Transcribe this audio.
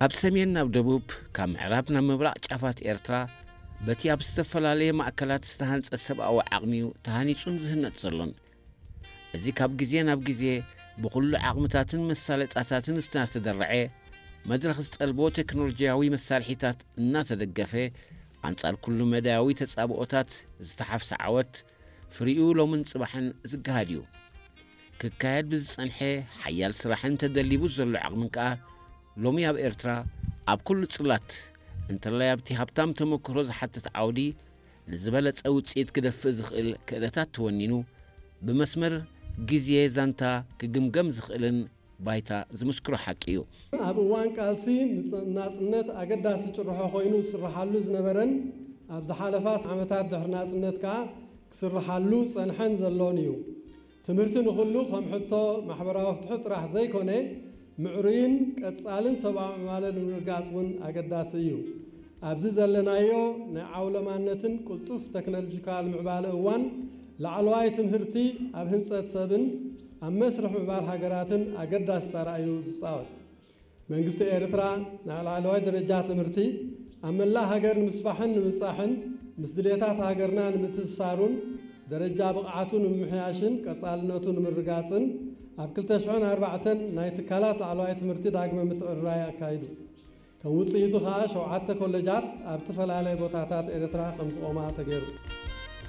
ካብ ሰሜን ናብ ደቡብ፣ ካብ ምዕራብ ናብ ምብራቕ ጫፋት ኤርትራ በቲ ኣብ ዝተፈላለየ ማእከላት ዝተሃንጸ ሰብኣዊ ዓቕሚ'ዩ ተሃኒጹን ዝህነጽ ዘሎን። እዚ ካብ ግዜ ናብ ግዜ ብኹሉ ዓቕምታትን መሳለጣታትን እናተደረዐ፣ መድረኽ ዝጠልቦ ቴክኖሎጂያዊ መሳርሒታት እናተደገፈ፣ ኣንጻር ኩሉ መዳያዊ ተጻብኦታት ዝተሓፍሰ ዓወት ፍሪኡ ሎምን ጽባሕን ዝገሃድ እዩ። ክካየድ ብዝጸንሐ ሓያል ስራሕን ተደሊቡ ዘሎ ዓቕምን ከኣ ሎሚ ኣብ ኤርትራ ኣብ ኩሉ ጽላት እንተላይ ኣብቲ ሃብታም ተመክሮ ዝሓትት ዓውዲ ንዝበለጸ ውጽኢት ክደፍእ ዝኽእል ክእለታት ተወኒኑ ብመስመር ግዜ ዛንታ ክግምገም ዝኽእልን ባይታ ዝምስክሮ ሓቂ እዩ። ኣብ እዋን ቃልሲ ንጽ- ናጽነት ኣገዳሲ ጭርሖ ኮይኑ ዝስርሓሉ ዝነበረን ኣብ ዝሓለፋ ዓመታት ድሕሪ ናጽነት ከኣ ክስርሓሉ ዝጸንሐን ዘሎን እዩ። ትምህርቲ ንኹሉ ከም ሕቶ ማሕበራዊ ፍትሒ ጥራሕ ዘይኮነ ምዕሩይን ቀጻልን ሰብኣዊ ምዕባለ ንምርጋጽ እውን ኣገዳሲ እዩ። ኣብዚ ዘለናዮ ናይ ዓውለማነትን ቅልጡፍ ተክኖሎጂካል ምዕባለ እዋን ላዕለዋይ ትምህርቲ ኣብ ህንጸት ሰብን ኣብ መስርሕ ምዕባል ሃገራትን ኣገዳሲ ተራ እዩ ዝጻወት። መንግስቲ ኤርትራ ናይ ላዕለዋይ ደረጃ ትምህርቲ ኣብ መላእ ሃገር ንምስፋሕን ንምብጻሕን ምስ ድሌታት ሃገርና ንምትእስሳሩን ደረጃ ብቕዓቱ ንምምሕያሽን ቀጻልነቱ ንምርጋጽን ኣብ ክልተ ሽሕን ኣርባዕተን ናይ ትካላት ላዕለዋይ ትምህርቲ ዳግመ ምትዕርራይ ኣካይዱ። ከም ውጽኢቱ ከኣ ሸውዓተ ኮለጃት ኣብ ዝተፈላለየ ቦታታት ኤርትራ ከም ዝቖማ ተገይሩ።